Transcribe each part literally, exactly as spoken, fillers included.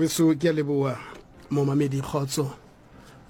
Weso ke a leboha momamedi kgotso.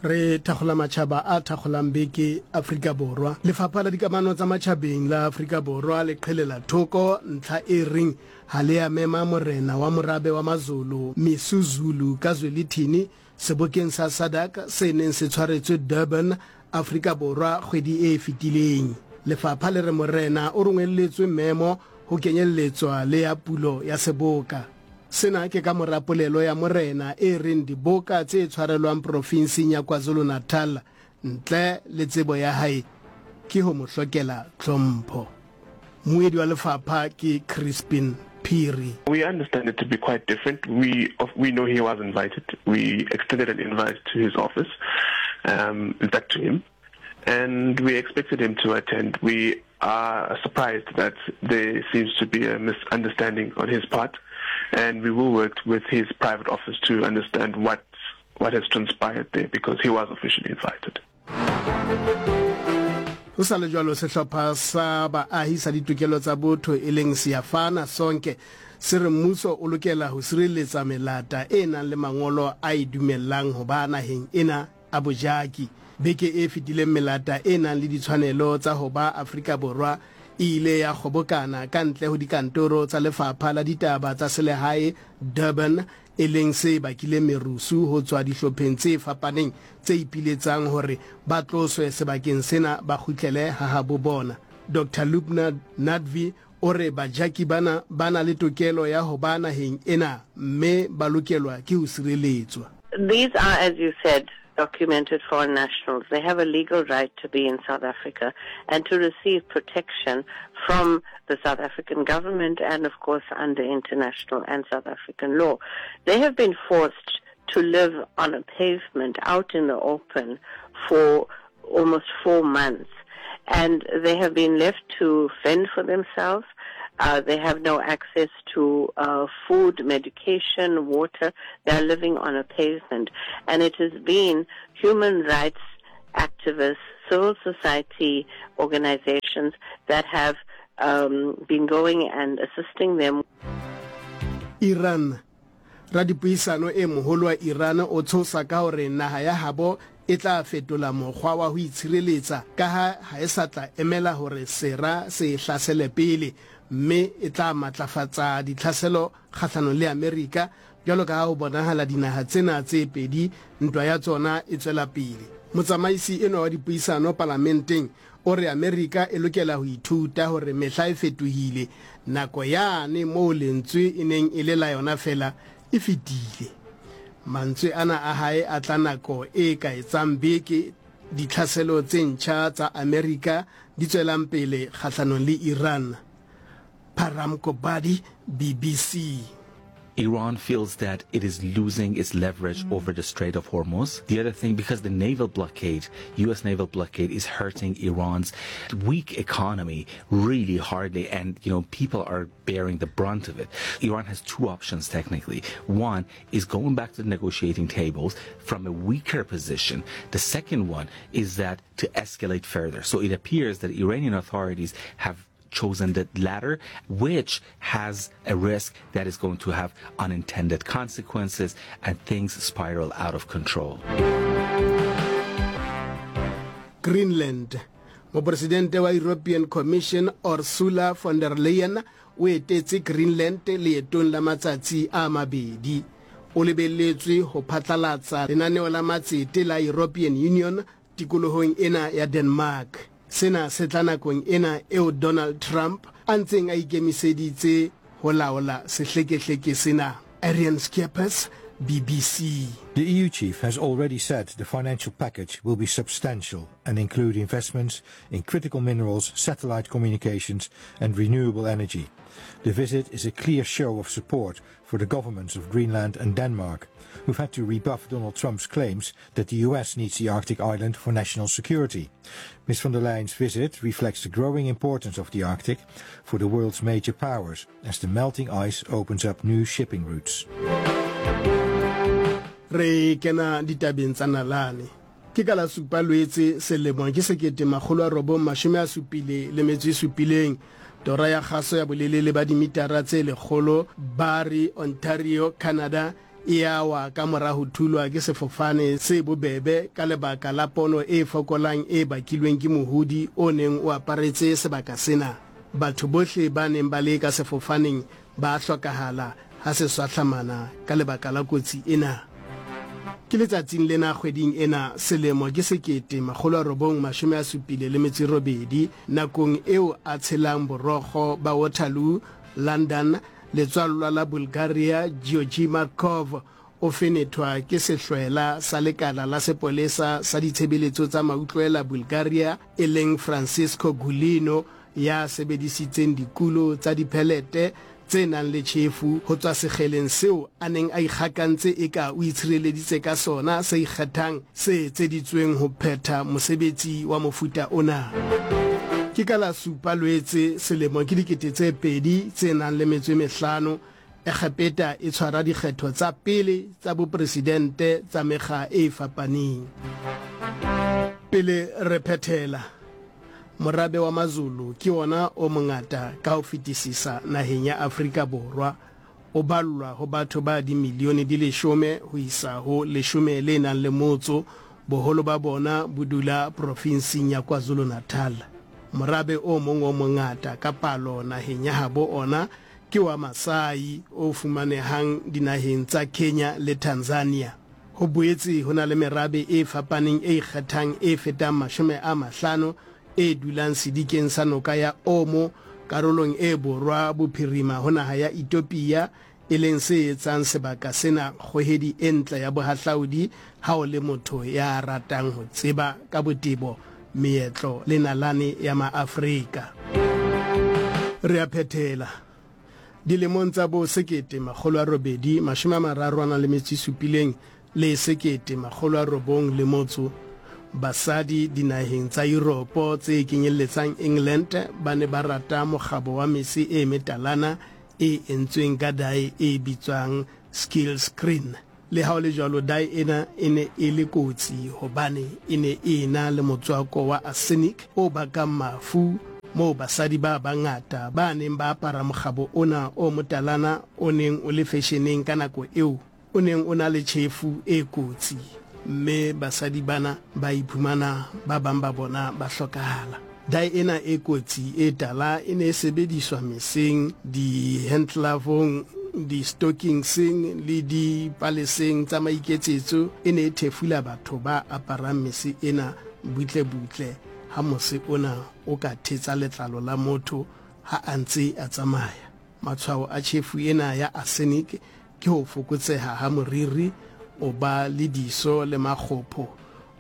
Re thakgola matjhaba a thakgolang beke Afrika Borwa. Lefapha la dikamano tsa matjhabeng la Afrika Borwa le qhelela thoko ntlha e reng ha le a mema morena wa morabe wa Mazulu Misuzulu kaZwelithini sebokeng sa SADC se neng se tshwaretswe Durban, Afrika Borwa kgwedi e fetileng. Lefapha le re morena o rongwelletswe memo ho kenyelletswa le ya pulo ya seboka. Sena ke ka mora polelo ya morena e reng diboka tse tshwarelwang profinseng ya KwaZulu-Natal ntle le tsebo ya hae ke ho mo hlokela tlhompho. Mmuedi wa lefapha ke Crispin Phiri. We understand it to be quite different. We, we know he was invited. We extended an invite to his office, um, in fact to him, and we expected him to attend. We are surprised that there seems to be a misunderstanding on his part, and we will work with his private office to understand what, what has transpired there, because he was officially invited. Ho sa le jwalo, sehlopha sa baahi sa ditokelo tsa botho e leng Siyafana Sonke se re mmuso o lokela ho sireletsa melata e nang le mangolo a e dumellang ho ba naheng ena a bojaki. Beke e fetileng melata e nang le ditshwanelo tsa ho ba Afrika Borwa e ile ya kgobokana ka ntle ho dikantoro tsa Lefapha la Ditaba tsa Selehae Durban, e leng se bakileng merusu ho tswa dihlopheng tse fapaneng tse ipiletsang hore ba tloswe sebakeng sena ba kgutlele ha habo bona. Doctor Lubna Nadvi o re bajaki bana ba na le tokelo ya ho ba naheng ena mme ba lokelwa ke ho sireletswa. These are, as you said, documented foreign nationals. They have a legal right to be in South Africa and to receive protection from the South African government and, of course, under international and South African law. They have been forced to live on a pavement out in the open for almost four months. And they have been left to fend for themselves. Uh, they have no access to uh, food, medication, water. They are living on a pavement. And it has been human rights activists, civil society organizations that have um, been going and assisting them. Iran. Radipuisano e moholo wa Iran o tshosa ka hore naha ya habo e tla fetola mokgwa wa ho itshireletsa ka ha ha e sa tla emela hore sera se hlasele pele, mme e tla matlafatsa ditlhaselo kgahlanong le Amerika jwalo ka ha ho bonahala dinaha tsena tse pedi ntwa ya tsona e tswela pele. Motsamaisi enwa wa dipuisano palamenteng o re Amerika e lokela ho ithuta hore mehla e fetohile, nako yane moo lentswe e neng e le la yona fela e fetile. Mantswe ana a hae a tla nako e ka etsang beke ditlhaselo tse ntjha tsa Amerika di tswelang pele kgahlanong le Iran. Param Kobadi, B B C. Iran feels that it is losing its leverage mm. over the Strait of Hormuz. The other thing, because the naval blockade, U S naval blockade, is hurting Iran's weak economy really hardly, and you know, people are bearing the brunt of it. Iran has two options technically. One is going back to the negotiating tables from a weaker position. The second one is that to escalate further. So it appears that Iranian authorities have chosen the latter, which has a risk that is going to have unintended consequences and things spiral out of control. Greenland. Mopresidente wa European Commission Ursula von der Leyen o etetse Greenland leetong la matsatsi a mabedi. O lebelletswe ho phatlalatsa lenaneo la matsete la European Union tikolohong ena ya Denmark. Sena se tla nakong ena eo Donald Trump a ntseng a ikemiseditse ho laola sehlekehleke sena. Arian Skeppers, B B C. The E U chief has already said the financial package will be substantial and include investments in critical minerals, satellite communications and renewable energy. The visit is a clear show of support for the governments of Greenland and Denmark, who've had to rebuff Donald Trump's claims that the U S needs the Arctic island for national security. Miz von der Leyen's visit reflects the growing importance of the Arctic for the world's major powers as the melting ice opens up new shipping routes. Re kena ditabeng tsa nalane. Ke ka la supa Loetse selemo ke sekete makgolo a robong mashome a supile le metso e supileng. Tora ya kgaso ya bolelele ba dimitara tse lekgolo Barrie, Ontario, Canada e a wa ka mora ho thulwa ke sefofane se bobebe ka lebaka la pono e fokolang e bakilweng ke mohodi o neng o aparetse sebaka sena. Batho bohle ba neng ba le ka sefofaneng ba hlokahala ha se swahlamana ka lebaka la kotsi ena. Ke letsatsing lena kgweding ena selemo ke sekete makgolo a robong mashome a supile le metso e robedi, nakong eo a tshelang borokgo ba Waterloo, London, letswallwa la Bulgaria Georgi Markov o fenethwa ke sehlwela sa lekala la sepolesa sa ditshebeletso tsa mautlwela Bulgaria e leng Francisco Gulino, ya sebedisitseng dikulo tsa diphelete tse nang le tjhefu ho tswa sekgeleng seo a neng a ikgakantse eka o itshireleditse ka sona se ikgethang se etseditsweng ho phetha mosebetsi wa mofuta ona. Ke ka la supa Loetse selemo ke dikete tse pedi tse nang le metso e mehlano, Egepeta e tshwara dikgetho tsa pele tsa bopresidente tsa mekga e fapaneng. Pele re phethela, morabe wa Mazulu ke ona o mongata ka ho fetisisa naheng ya Afrika Borwa, o ballwa ho batho ba dimilione di leshome ho isa ho leshome le nang le motso, boholo ba bona bo dula profinsing ya KwaZulu-Natal. Morabe o mong o mongata ka palo naheng ya habo ona ke wa Masai o fumanehang dinaheng tsa Kenya le Tanzania. Ho boetse ho na le merabe e fapaneng e ikgethang e fetang mashome a mahlano e dulang sedikeng sa noka ya Omo karolong e borwa bophirima ho naha ya Ethiopia, e leng se etsang sebaka sena kgohedi e ntle ya bohahlaudi ha o le motho ya ratang ho tseba ka botebo meetlo le nalane ya Maafrika. Re a phethela. Dilemong tsa bo sekete makgolo a robedi mashome a mararo a nang le metso e supileng le sekete makgolo a robong le motso, basadi dinaheng tsa Europe tse kenyelletsang England ba ne ba rata mokgabo wa mese e metalana e entsweng ka dae e bitswang skill screen. Le ha ho le jwalo, dae ena e ne e le kotsi hobane e ne e na le motswako wa arsenic o bakang mafu, moo basadi ba bangata ba neng ba apara mokgabo ona o motalana o neng o le fashioneng ka nako eo, o neng o na le tjhefu e kotsi, mme basadi bana ba iphumana ba bang ba bona ba hlokahala. Dae ena e kotsi e tala e ne e sebediswa meseng, di-handglovong, di-stockingseng le dipaleseng tsa maiketsetso. E ne e thefula batho ba aparang mese ena butle-butle ha mose ona o ka thetsa letlalo la motho ha a ntse a tsamaya. Matshwao a tjhefu ena ya arsenic ke ho fokotseha ha moriri, o ba le diso le makgopho,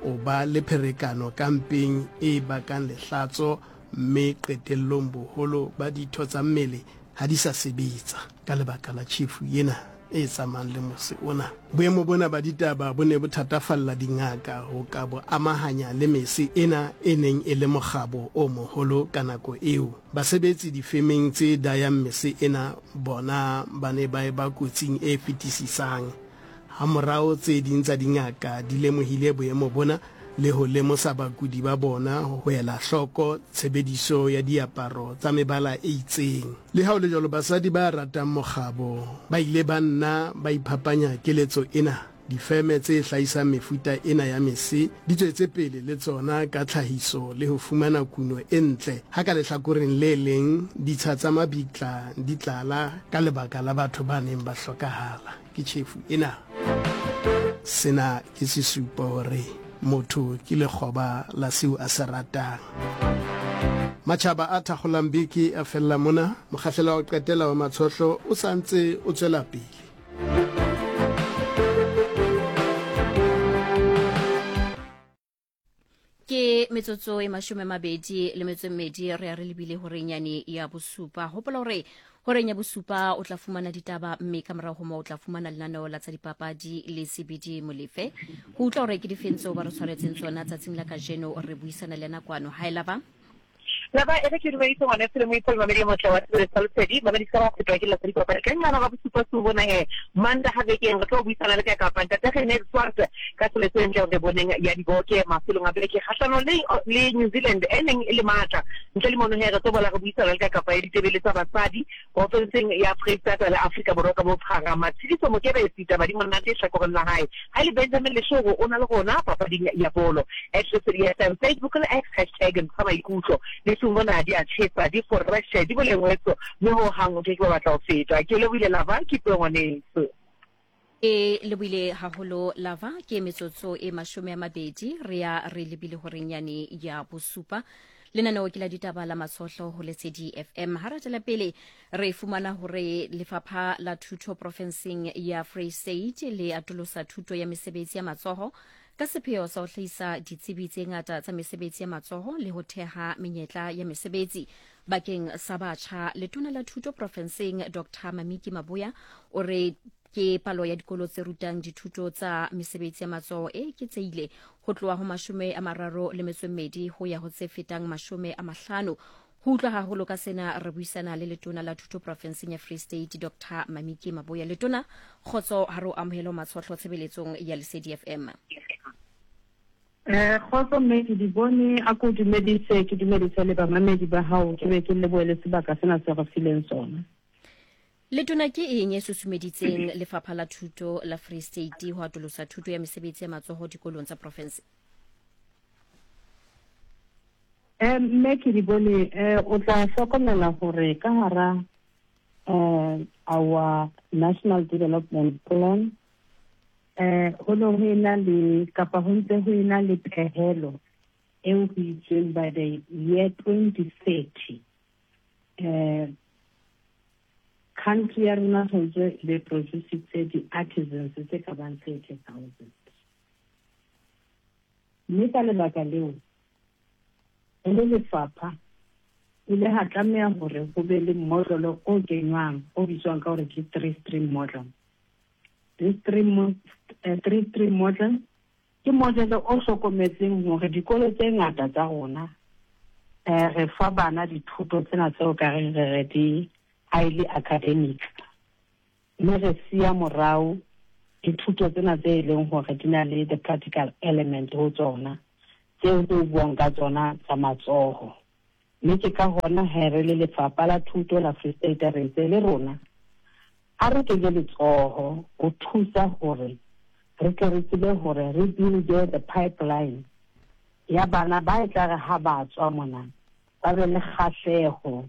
o ba le pherekano ka mpeng e bakang lehlatso, mme qetellong boholo ba ditho tsa mmele ha di sa sebetsa ka lebaka la tjhefu ena e tsamayang le mose ona. Boemo bona ba ditaba bo ne bo thatafalla dingaka ho ka bo amahanya le mese ena e neng e le mokgabo o moholo ka nako eo. Basebetsi difemeng tse dayang mese ena bona ba ne ba eba kotsing e fetisisang. Hamorao tse ding tsa dingaka di lemohile boemo bona le ho lemosa bakudi ba bona ho ela hloko tshebediso ya diaparo tsa mebala e itseng. Le ha ho le jwalo, basadi ba ratang mokgabo ba ile ba nna ba iphapanya keletso ena. Difeme tse hlahisang mefuta ena ya mese di tswetse pele le tsona ka tlhahiso le ho fumana kuno e ntle, ha ka lehlakoreng le leng ditsha tsa mabitla di tlala ka lebaka la batho ba neng ba hlokahala ke tjhefu ena. Sena ke sesupo hore motho ke lekgoba la seo a se ratang. Matjhaba a thakgolang beke a fella mona. Mokgahlelo wa ho qetela wa Matshohlo o sa ntse o tswela pele. Ke metsotso e mashome mabedi le metso e mmedi re ya re lebile horeng yane ya bosupa. Hopola hore horeng ya bosupa o tla fumana ditaba, mme ka morao ho moo o tla fumana lenaneo la tsa dipapadi le C B D Molefe. Ho utlwa hore ke difeng tseo ba re tshwaretseng tsona tsatsing la kajeno, re buisana le yena kwano. Ha e laba? Laba e re ke dumedise ngwana e mo ipol mamedi motla wa tsebe sa Lesedi mamedi ka wa fetwa ke la tsedi papa ka ngwana ga bosupa su bona he manda ha bekeng re tlo buisana le ka kapa ntate Rene Swart ka tsheletso ntle re boneng ya diboke mafelong a beke kgahlano le le New Zealand e neng e le matla ntle le mono he re tlo bola re buisana le ka kapa ya ditebele tsa basadi porofenseng ya Freistata le Afrika Borwa ka bophara. Matshediso Mokebesi taba di monate hlakoreng la hae ha le Benjamin Leshoro o na le rona papading ya bolo at Lesedi F M Facebook le X hashtag ntsha maikutlo le sumona di a tshesa di fresh di bolengwetso mme ho hang o ke ke batla ho feta. Ke lebohile Lava ke puo ngwaneso. E lebohile haholo Lava ke metsotso e mashome a mabedi re ya re lebile horeng yane ya bosupa. Lenaneo ke la ditaba la Matshohlo ho Lesedi F M. Ha re tswela pele re fumana hore lefapha la thuto profenseng ya Free State le atolosa thuto ya mesebetsi ya matsoho ka sepheo sa ho hlahisa ditsebi tse ngata tsa mesebetsi ya matsoho le ho theha menyetla ya mesebetsi bakeng sa batjha. Letona la thuto profenseng Doctor Mamiki Maboya o re ke palo ya dikolo tse rutang dithuto tsa mesebetsi ya matsoho e eketsehile ho tloha ho mashome a mararo le metso e mmedi ho ya ho tse fetang mashome a mahlano. Ho utlwa haholo ka sena re buisana le letona la thuto profenseng ya Free State Doctor Mamiki Maboya. Letona, kgotso ha re o amohele Matshohlo tshebeletsong ya Lesedi F M. Eh kgotso mme ke di bone a ko dumedise ke dumedise le bamamedi ba hao ke be ke lebohele sebaka sena se re fileng sona. Letona, ke eng e susumeditseng lefapha la thuto la Free State ho atolosa thuto ya mesebetsi ya matsoho dikolong tsa province? Eh mme ke di bone eh o tla hlokomela hore ka hara eh our National Development Plan eh ho no ho ena le kapa ho ntse ho ena le pehelo eo ho itsweng by the year twenty thirty eh country ya rona tshwanetse le produce di-artisans tse ka bang thirty thousand. Mme ka lebaka leo e le lefapha ile ha tlameha hore ho be le model o kenywang o bitswang ka hore ke three stream model. This three, uh, three stream model ke model o hlokometseng hore dikolo tse ngata tsa rona eh re fa bana dithuto tsena tseo ka reng re re di highly academic mme re siya morao dithuto tsena tse e leng hore di na le the practical element ho tsona tseo tse buang ka tsona tsa matsoho. Mme ke ka hona he re le lefapha la thuto la Free State re ntse le rona a re kenye letsoho ho thusa hore re tle re tsebe hore re build the pipeline ya bana ba e tla re ha ba tswa mona ba be le kgahleho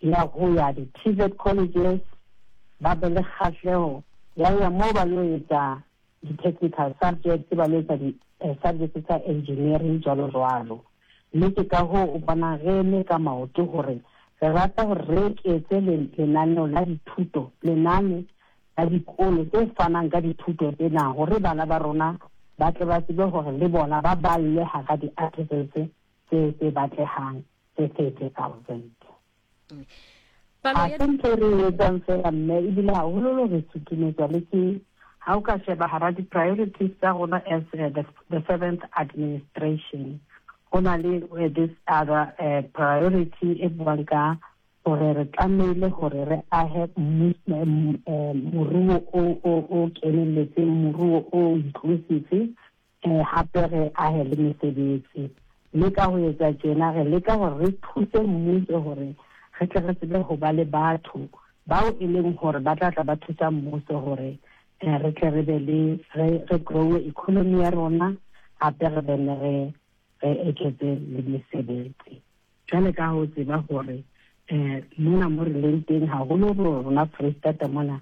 ya ho ya di-T V E T colleges, ba be le kgahleho ya ho ya moo ba lo etsa di-technical subjects, ba lo etsa di-subjects tsa engineering jwalo jwalo. Mme ke ka hoo o bona re eme ka maoto hore re rata hore re eketse lenaneo la dithuto, lenane la dikolo tse fanang ka dithuto tsena hore bana ba rona ba tle ba tsebe hore le bona ba balle hara di-artisans tse tse batlehang tse thirty thousand. Palo ya Ha ntho re etsang fela mme ebile haholoholo re sutumetswa le ke ha o ka sheba hara di-priorities tsa rona as uh, the, the seventh administration ho na le uh, this other uh, priority e buang ka hore re tlamehile hore re ahe moruo o o o kenelletseng, moruo o inclusive, eh hape re ahe le mesebetsi. Mme ka ho etsa tjena re leka hore re thuse mmuso hore re tle re tsebe ho ba le batho bao e leng hore ba tla tla ba thusa mmuso hore re tle re be le re re grow economy ya rona hape re be re re eketse le mesebetsi. Jwale ka ho tseba hore eh mona mo re leng teng haholo rona Free State mona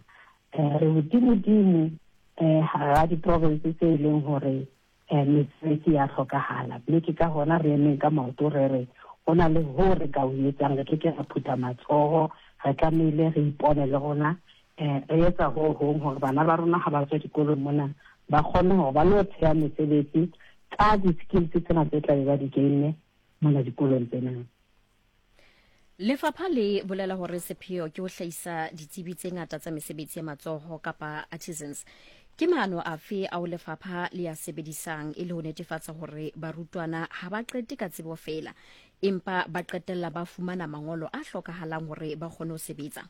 eh re hodimodimo eh hara di-province tse e leng hore eh mesebetsi ya hlokahala. Mme ke ka hona re emeng ka maoto re re ho na le ho re ka o etsang, re ke ke ra phutha matsoho, re tlamehile re ipone le rona eh re etsa ho hong hore bana ba rona ha ba tswa dikolong mona ba kgone hore ba lo theha mesebetsi ka di-skills tsena tse tla be ba di gainne mona dikolong tsena. Lefapha le bolela hore sepheo ke ho hlahisa ditsebi tse ngata tsa mesebetsi ya matsoho kapa artisans. Ke maano afe ao lefapha le a sebedisang e le ho netefatsa hore barutwana ha ba qete ka tsebo feela, empa ba qetella ba fumana mangolo a hlokahalang hore ba kgone ho sebetsa?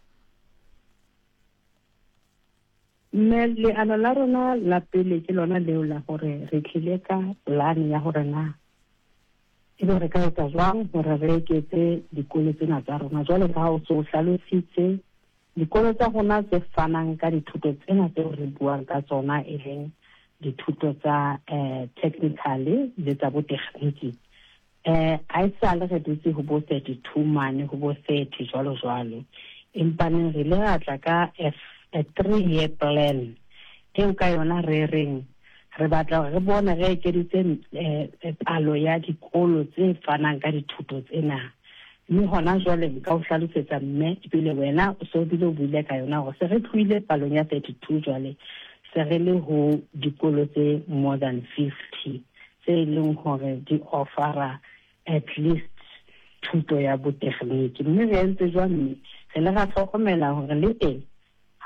Mme leano la rona la pele ke lona leo la hore re tlile ka plan ya hore na ebe re ka etsa jwang hore re eketse dikolo tsena tsa rona. Jwale ka ha o so hlalositse, dikolo tsa rona tse fanang ka dithuto tsena tseo re buang ka tsona, e leng dithuto tsa eh, technical le tsa botekgniki, eh ha esale re dutse ho bo thirty-two mane ho bo thirty jwalo jwalo, empa neng re ile ra tla ka a, a three year plan eo ka yona re reng re batla hore re bone re ekeditse eh, palo ya dikolo tse fanang ka dithuto tsena. Mme hona jwale nka o hlalosetsa mme ebile wena o so bile o buile ka yona hore se re tlohile palong ya thirty-two, jwale se re le ho dikolo tse more than fifty tse leng hore di offera at least thuto ya botekgniki. Mme re entse jwang? Mme re le ra hlokomela hore le teng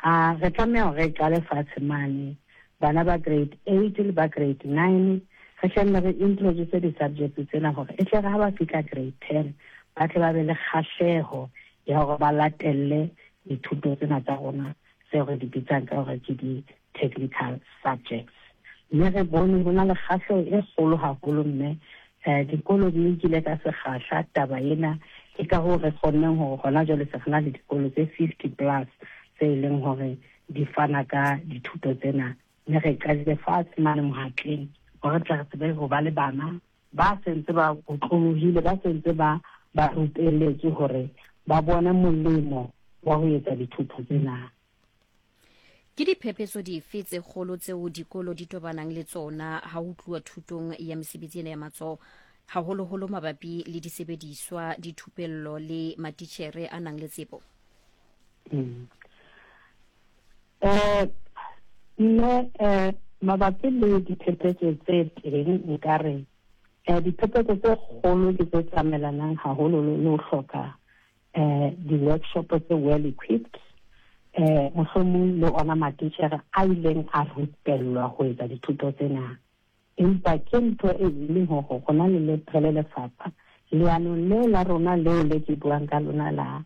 ha re tlameha hore re qale fatshe mane bana ba grade eight le ba grade nine, re hlenne re introduce di-subjects tsena hore e tle re ha ba fihla grade ten ba tle ba be le kgahleho ya hore ba latelle dithuto tsena tsa rona tseo re di bitsang ka hore ke di-technical subjects. Mme re bone ho na le kgahleho e kgolo haholo, mme eh dikolo di nkile ka sekgahla taba ena. Ke ka hoo re kgonneng hore hona jwale se re na le dikolo tse fifty plus tse e leng hore di fana ka dithuto tsena. Mme re qadile fatshe mane Mohatleng hore re tle re tsebe ho ba le bana ba sentse ba otlolohile, ba sentse ba ba rupelletswe hore ba bone molemo wa ho etsa dithuto tsena. Ke diphephetso dife tse kgolo tseo dikolo di tobanang le tsona ha ho tluwa thutong ya mesebetsi ena ya matsoho, haholoholo mabapi le disebediswa, dithupello le matitjhere a nang le tsebo? Mm. Eh mme eh mabapi le diphephetso tse teng, nkare eh diphephetso tse kgolo ke tse tsamaelanang haholo le ho hloka eh di-workshop tse well equipped, eh mohlomong le ona matitjhere a ileng a rupellwa ho etsa dithuto tsena. Empa ke ntho e leng hore rona le le re le lefapha leanong leo la rona leo le ke buang ka lona la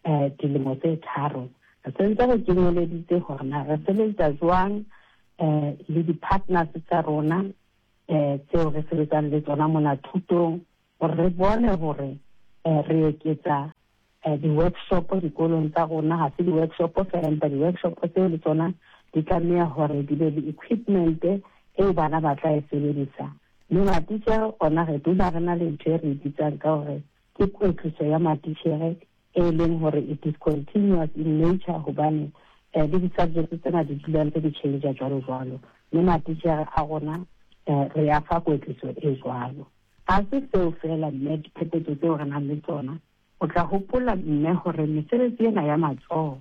eh dilemo tse tharo, re sentse re kenyeleditse hore na re sebetsa jwang eh le di-partners tsa rona eh tseo re sebetsang le tsona mona thutong, hore re bone hore eh re eketsa eh di-workshop dikolong tsa rona. Ha se di-workshop fela, empa di-workshop tseo le tsona di tlameha hore di be le equipment eo bana ba tla e sebedisa. Mme matitjhere ona re dula re na le ntho e re e bitsang ka hore ke kwetliso ya matitjhere, e leng hore it is continuous in nature, hobane eh le di-subjects tsena di dula ntse di change jwalo jwalo. Mme matitjhere a rona eh re a fa kwetliso e jwalo. Ha se seo fela mme diphephetso tseo re nang le tsona. O tla hopola mme hore mesebetsi ena ya matsoho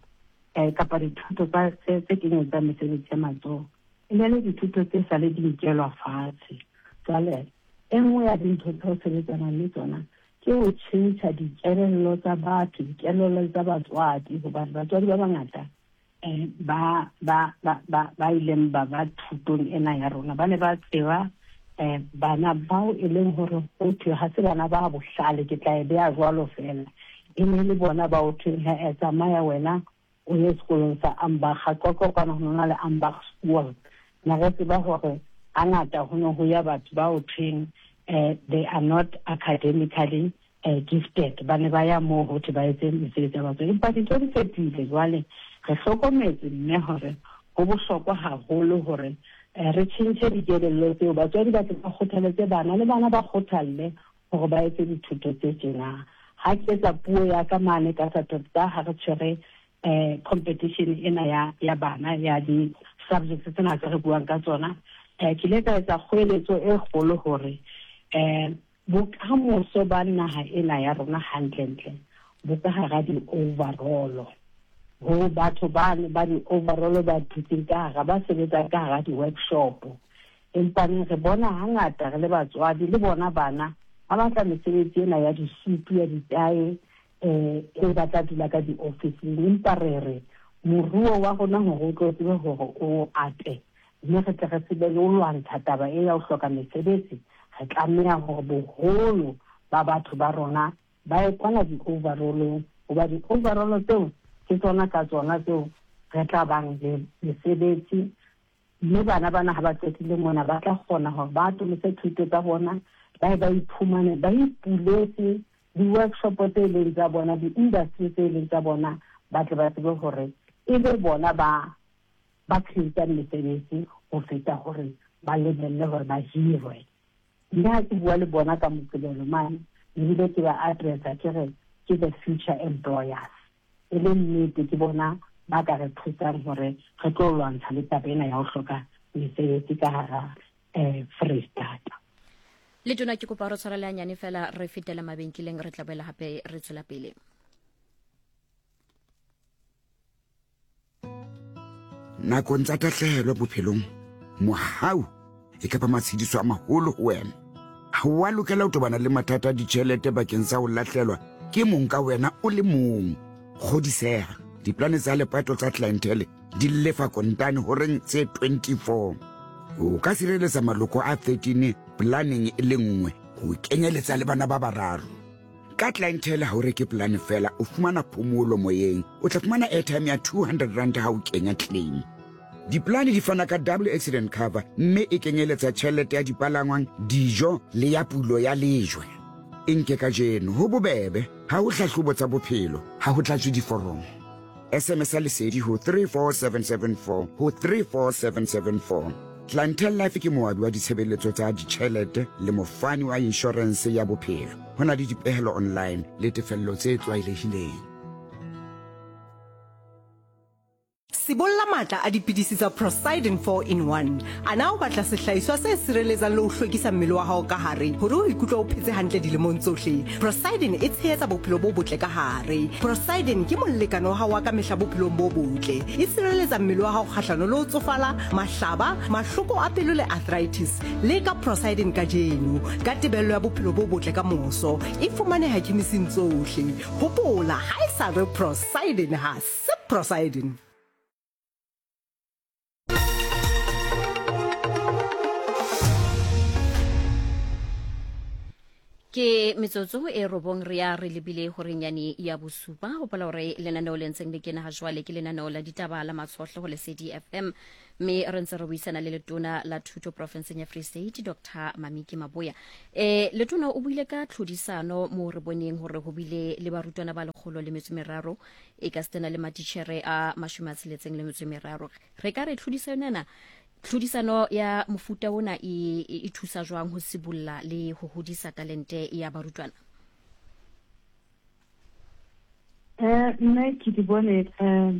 eh kapa dithuto tsa tse tse kenyetsang mesebetsi ya matsoho e ne le dithuto tse sa le di nkelwa fatshe. Jwale e nngwe ya dintho tseo sebetsanang le tsona ke ho tjhentjha dikelello tsa batho, dikelello tsa batswadi, hobane batswadi ba bangata eh ba ba ba ba ba ileng ba ba thutong ena ya rona ba ne ba tseba eh bana bao e leng hore ho thwe ha se bana ba bohlale, ke tla e beha jwalo fela, e ne le bona ba ho thweng ha e tsamaya wena o ye sekolong sa Ambach, Qwaqwa kwana ho na le Ambach School. Na re tseba hore hangata ho ne ho ya batho ba ho thweng eh they are not academically eh, gifted, ba ne ba ya moo ho thwe ba etse mesebetsi ya batswadi. Empa dintho di fetohile jwale, re hlokometse mme hore ho bohlokwa haholo hore eh, re tjhentjhe dikelello tseo, batswadi ba tle ba kgothaletse bana le bana ba kgothalle hore ba etse dithuto tse tjena. Ha ke etsa puo ya ka mane ka Saterdag ha re tshwere eh competition ena ya ya bana ya di subjects tsena tse re buang ka tsona, eh ke ile ka etsa kgoeletso e kgolo hore eh bokamoso ba naha ena ya rona hantlentle bo ka hara di-overall, ho batho bane ba di-overall ba dutseng ka hara, ba sebetsang ka hara di-workshop. Empa re bona hangata re le batswadi le bona bana ba batla mesebetsi ena ya disutu, ya ditae, eh e ba tla dula ka di-officing. Empa re re moruo wa rona hore o tlo tsebe hore o ate, Mme re tle re tsebe le ho lwantsha taba e ya ho hloka mesebetsi, re tlameha hore boholo ba batho ba rona ba ye kwana di-overallong, hoba di-overall tseo ke tsona ka tsona tseo re tla bang le mesebetsi. Mme bana bana ha ba qetile mona ba tla kgona hore ba atolose thuto tsa bona, ba ba iphumane ba ipuletse di-workshop tse leng tsa bona, di-industry tse leng tsa bona, ba tle ba tsebe hore e be bona ba ba create-ang mesebetsi ho feta hore ba lebelle hore ba hirwe. Mme ha ke bua le bona ka Moqebelo mane, ebile ke ba addressa ke re ke the future employers. E le nnete ke bona ba ka re thusang hore re tlo lwantsha le taba ena ya ho hloka mesebetsi ka hara eh Freistata. Le tona ke kopa re tshwarele hanyane fela re fetele mabenkeleng, re tla boela hape re tswela pele. Nakong tsa tahlehelo bophelong, mohau e kapa matshediso a maholo ho wena. Ha o a lokela ho tobana le mathata a ditjhelete bakeng sa ho lahlelwa ke mong ka wena o le mong. Kgodiseha, diplane tsa lepato tsa clientele di lefa kontane horeng tse twenty-four. O ka sireletsa maloko a thirteen planeng e le nngwe ho kenyeletsa le bana ba bararo. Ka clientele ha o reke plan fela, o fumana phomolo moyeng. O tla fumana airtime ya two hundred rand ha o kenya claim. Diplane di fana ka double accident cover mme e kenyeletsa tjhelete ya dipalangwang, dijo le ya pulo ya lejwe. E nke kajeno ho bobebe, ha ho hlahlobo tsa bophelo, ha ho tlatswe diforomo. S M S lesedi ho three four seven seven four ho three four seven seven four. Clientele Life ke moabi wa ditshebeletso tsa ditjhelete le mofani wa insurance ya bophelo. Ho na le dipehelo online le tefello tse tlwaelehileng. Sibolla matla a dipidisi tsa Prosidin four in one. Ana o batla sehlahiswa se sireletsang le ho hlwekisa mmele wa hao ka hare hore o ikutlwe o phetse hantle dilemong tsohle. Prosidin e tshehetsa bophelo bo botle ka hare. Prosidin ke molekane wa hao wa ka mehla bophelong bo botle. E sireletsa mmele wa hao kgahlano le ho tsofala, mahlaba, mahloko a pelo le arthritis. Leka Prosidin kajeno ka tebello ya bophelo bo botle ka moso. E fumaneha khemising tsohle. Hopola, ha e sa re Prosidin ha se Prosidin. Ke metsotso e robong re ya re lebile horeng yane ya bosupa. Hopola hore lenaneo le ntseng le kena ha jwale ke lenaneo la ditaba la Matshohlo ho Lesedi F M, mme re ntse re buisana le letona la thuto profinseng ya Free State Doctor Mamiki Maboya. Eh letona o buile ka tlhodisano mo re boneng hore ho bile le barutwana ba lekgolo le metso meraro e ka stena le matitjhere a mashome a tsheletseng le metso meraro. Re ka re tlhodisano ena tlhodisano ya mofuta ona e e thusa jwang ho sibulla le ho hodisa talente ya barutwana? Eh nna ke di bone eh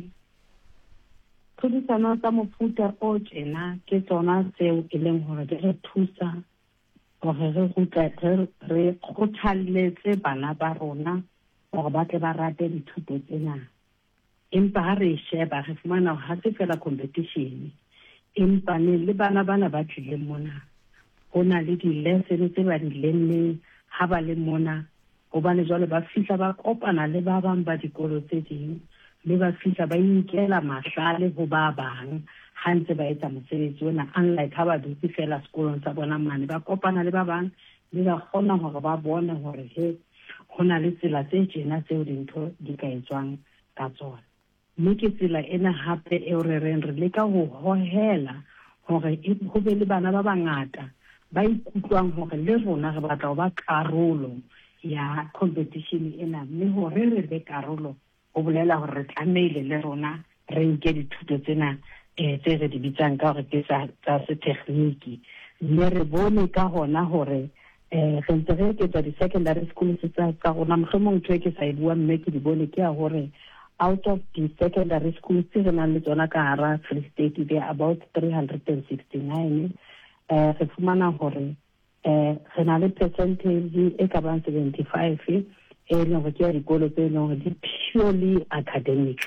tlhodisano tsa mofuta o tjena ke tsona tseo e leng hore di re thusa hore re rute re kgothalletse bana ba rona hore ba tle ba rate dithuto tsena. Empa ha re sheba re fumana hore ha se fela competition, empa ne le bana bana ba tlileng mona ho na le di-lesson tse ba di lemmeng ha ba le mona, hobane jwale ba fihla ba kopana le ba bang ba dikolo tse ding, mme ba fihla ba inkela mahlale ho ba bang ha ntse ba etsa mosebetsi ona. Unlike ha ba dutse fela sekolong sa bona mane, ba kopana le ba bang mme ba kgona hore ba bone hore he ho na le tsela tse tjena tseo dintho di ka etswang ka tsona. Mme ke tsela ena hape eo re reng re leka ho hohela hore ho be le bana ba bangata ba ikutlwang hore le rona re batla ho ba karolo ya competition ena, mme hore re be karolo ho bolela hore re tlamehile le rona re nke dithuto tsena eh tse re di bitsang ka hore ke tsa tsa setekgniki. Mme re bone ka hona hore eh re ntse re eketsa di-secondary schools tsa tsa rona. Mohlomong ntho e ke sa e buang mme ke di bone ke ya hore out of the secondary schools tse re nang le tsona ka hara Free State, they are about three hundred sixty-nine. Eh re fumana hore eh re na le percentage e ka bang seventy-five e leng hore ke ya dikolo tse leng hore di purely academic.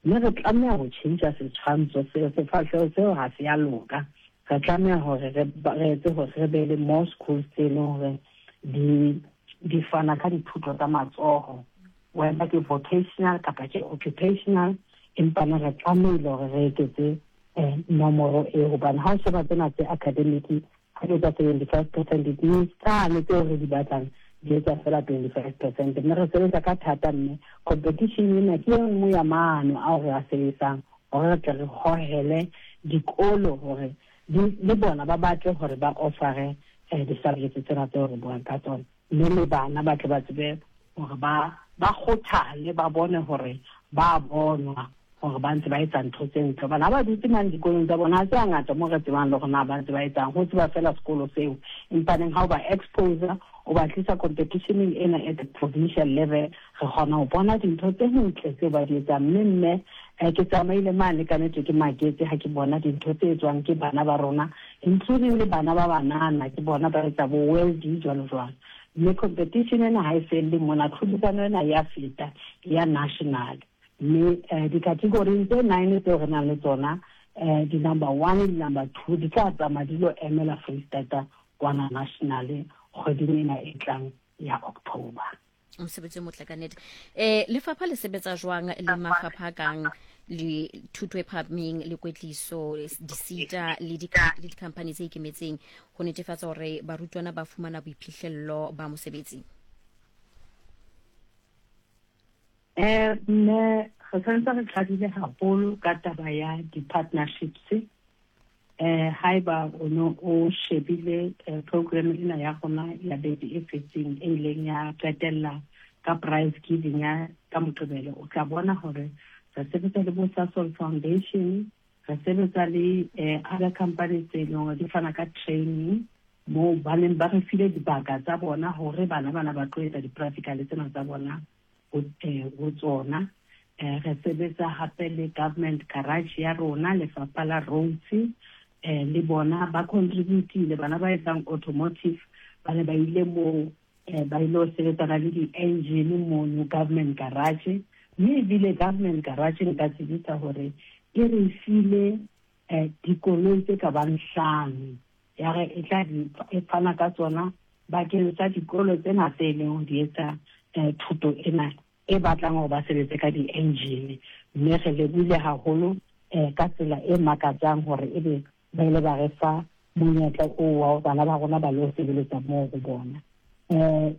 Mme re tlameha ho tjhentjha setshwantsho seo, sefahleho seo ha se ya loka. Re tlameha hore re etse hore re be le more schools tse leng hore di di fana ka dithuto tsa matsoho, whether ke vocational kapa ke occupational, empa ne re tlamehile hore re eketse eh, nomoro e, hobane ha o sheba tsena tse academic ha di etsa seventy-five percent, it means tsane tseo re di batlang di etsa fela twenty-five percent. Mme re sebetsa ka thata, mme competition ena ke e nngwe ya maano ao re a sebetsang hore re tle re hohele dikolo hore le bona ba batle hore ba offere eh, di-subjects tsena tseo re buang ka tsona, mme le bana ba tle ba tsebe hore ba ba kgothale, ba bone hore ba bonwa hore ba ntse ba etsa ntho tse ntle. Hobane ha ba dutse mane dikolong tsa bona, ha se hangata mo re tsebang le hore na ba ntse ba etsang, ho tseba fela sekolo seo. Empa neng ha o ba expose, o ba tlisa competitioneng ena at the provincial level, re kgona ho bona dintho tse ntle tseo ba di etsang. Mme mme eh, ke tsamaile mane ka nnete, ke maketse ha ke bona dintho tse etswang ke bana ba rona, including le bana ba banana, ke bona ba etsa bo welding jwalo jwalo. Mme competition ena ha e felle mona, tlhodisano ena ya feta ya national. Mme eh, di-category tse nine tseo re nang le tsona, eh, di-number one le di-number two di tla tsamaya di lo emela Freistata kwana national kgweding ena e tlang ya October. Mosebetsi o motle ka nnete. Eh lefapha le sebetsa jwang le mafapha a kang le thuto e phahameng le kwetliso, di-SETA le di-company tse ikemetseng ho netefatsa hore barutwana ba fumana boiphihlello ba mosebetsi? Eh mme re santse re qadile haholo ka taba ya di-partnerships. Eh haeba o no o shebile program ena ya rona ya beke e fetseng e ileng ya qetella ka prize giving ya ka Moqebelo, o tla bona hore re sebetsa le bo Sasol Foundation, re sebetsa le other companies tse leng hore di fana ka training moo ba neng ba re file dibaka tsa bona hore bana bana ba tlo etsa di-practical tsena tsa bona ho tsona. Re sebetsa hape le government garage ya rona, lefapha la roads, eh le bona ba contributile. Bana ba etsang automotive ba ne ba ile moo, ba ile ho sebetsana le di-engine mono government garage. Mme ebile government garage nka tsebisa hore e re file dikoloi tse ka bang hlano, ya re e tla e fana ka tsona bakeng sa dikolo tsena tse leng ho di etsa thuto ena e batlang hore ba sebetse ka di-engine. Mme re lebohile haholo ka tsela e makatsang hore ebe ba ile ba re fa monyetla oo wa hore bana ba rona ba lo sebeletsa moo ho bona. Eh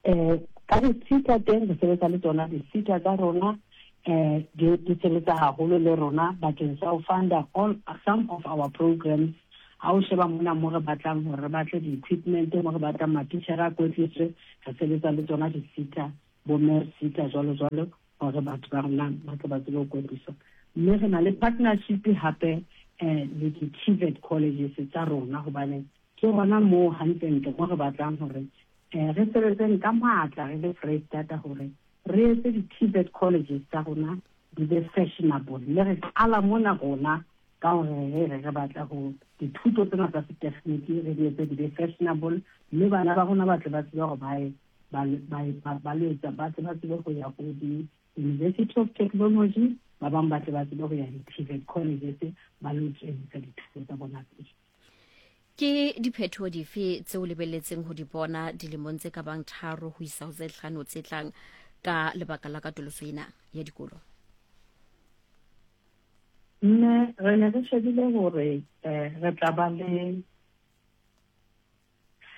eh ka di-SETA teng re sebetsa le tsona di-SETA tsa rona, eh di sebetsa haholo le rona bakeng sa ho funda all some of our programs. Ha o sheba mona mo re batlang hore re batle di-equipment, mo re batlang matitjhere a kwetliswe, re sebetsa le tsona di-SETA, bo SETA jwalo jwalo, hore batho ba rona ba tle ba tsebe ho kwetliswa. Mme re na le partnership hape eh le di-T V E T colleges tsa rona, hobane ke hona moo hantlentle mo re batlang hore eh re sebetseng ka matla re le Freistata hore re etse di-T V E T colleges tsa rona di be fashionable. Mme re qala mona rona ka hore re re re batla ho dithuto tsena tsa setekgniki re di etse di be fashionable, mme bana ba rona ba tle ba tsebe hore ba ye ba ba ba lo etsa, ba tle ba tsebe ho ya ho di-University of Technology, ba bang ba tle ba tsebe ho ya di-T V E T colleges ba lo tswellisa dithuto tsa bona pele. Ke diphethoho dife tseo lebelletseng ho di bona dilemong tse ka bang tharo ho isa ho tse hlano tse tlang ka lebaka la katoloso ena ya dikolo? Mme re ne re shebile hore re tla ba le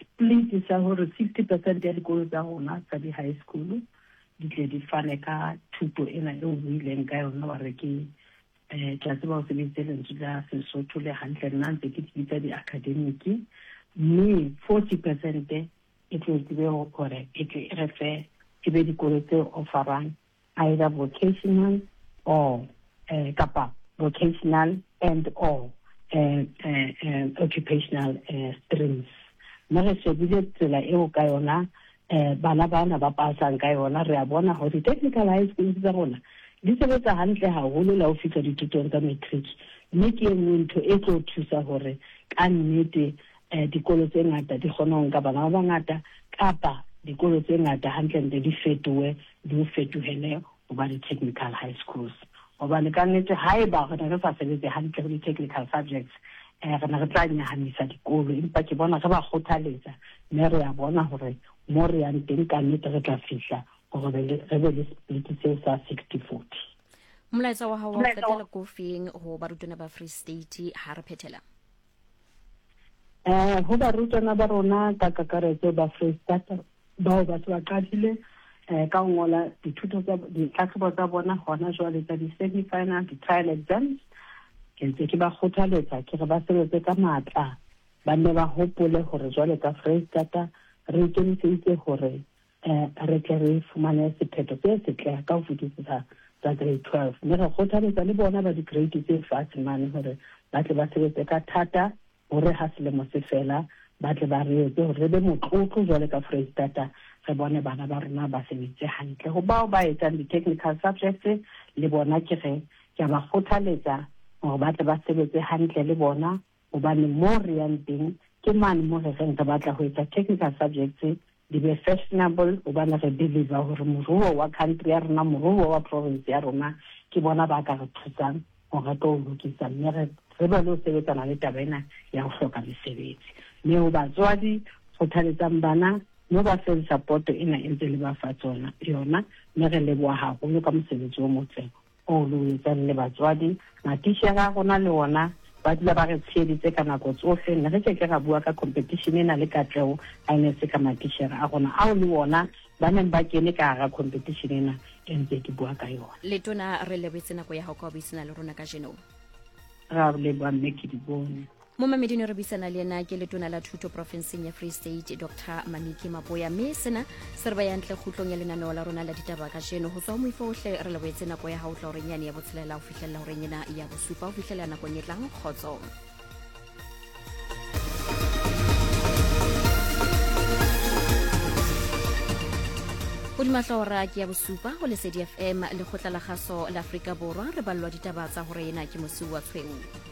split sa hore sixty percent ya dikolo tsa rona tsa di-high school di tle di fane ka thuto ena eo buileng ka yona, wa re ke eh ke a tseba ho sebedisitse lentswe la Sesotho le hantle, nna ntse ke di bitsa di-academic. Mme forty percent e tlo tsebe hore e tle e re fe e be dikolo tse offerang either vocational or eh kapa vocational and or eh, eh, occupational eh, streams. Mme re shebile tsela eo ka yona eh bana bana ba pasang ka yona, re a bona hore di-technical high schools tsa rona di sebetsa hantle haholo la ho fihla dithutong tsa matric. Mme ke e nngwe ntho e tlo thusa hore ka nnete eh dikolo tse ngata di kgone ho nka bana ba bangata, kapa dikolo tse ngata hantlentle di fetohe di fetohele ho ba di-technical high schools. Hobane ka nnete haeba re ne re sa sebetse hantle ho di-technical subjects, eh re ne re tla nyahamisa dikolo. Empa ke bona re ba kgothaletsa, mme re a bona hore mo re yang teng ka nnete re tla fihla hore re be le split seo sa sixty forty. Molaetsa wa hao wa ho qetela ke ofeng ho barutwana ba Free State ha re phethela? Eh ho barutwana ba rona ka kakaretso ba Free State bao ba se ba qadile eh ka ho ngola dithuto tsa ditlhahlobo tsa bona hona jwale tsa di-semi-final, di-trial exams, ke ntse ke ba kgothaletsa ke re ba sebetse ka matla, ba nne ba hopole hore jwale ka Freistata re ikemiseditse hore eh re tle re fumane sephetho se setle ka ho fetisisa tsa grade twelve. Mme re kgothaletsa le bona ba di-grade tse fatshe mane hore ba tle ba sebetse ka thata hore ha selemo se fela ba tle ba re etse hore re be motlotlo jwale ka Freistata, re bone bana ba rona ba sebetse hantle. Ho bao ba etsang di-technical subjects le bona ke re ke a ba kgothaletsa hore ba tle ba sebetse hantle le bona, hobane mo re yang teng ke mane mo re reng re batla ho etsa technical subjects di be fashionable, hobane re believe hore moruo wa country ya rona, moruo wa province ya rona ke bona ba ka re thusang hore re tlo lokisa, mme re re be le ho sebetsana le taba ena ya ho hloka mesebetsi. Mme ho batswadi kgothaletsang bana mme ba feng support ena e ntse le ba fa tsona yona, mme re leboha haholo ka mosebetsi o motle o lo etsang le batswadi. Matitjhere a rona le ona ba dula ba re tsheheditse ka nako tsohle, ne re ke ke ra bua ka competition ena le katleho ha e ne se ka matitjhere a rona ao le ona ba neng ba kene ka hara competition ena e ntse ke bua ka yona. Letona, re lebetse nako ya hao ka ho buisana le rona kajeno. Ra leboha mme ke di bone. Momamedi ne re buisana le yena ke letona la thuto profenseng ya Free State Doctor Mamiki Maboya, mme sena se re ba yantle kgutlong ya lenaneo la rona la ditaba kajeno. Ho tswa ho moifo ohle re lebohetse nako ya hao tla horeng yane ya botshelela ho fihlella horeng ena ya bosupa, ho fihlela nakong e tlang. Kgotso. Hodima hlooho ke ya bosupa ho Lesedi F M, lekgotla la kgaso la Afrika Borwa, re ballwa ditaba tsa hore ena ke Mosiuwa Tshweu.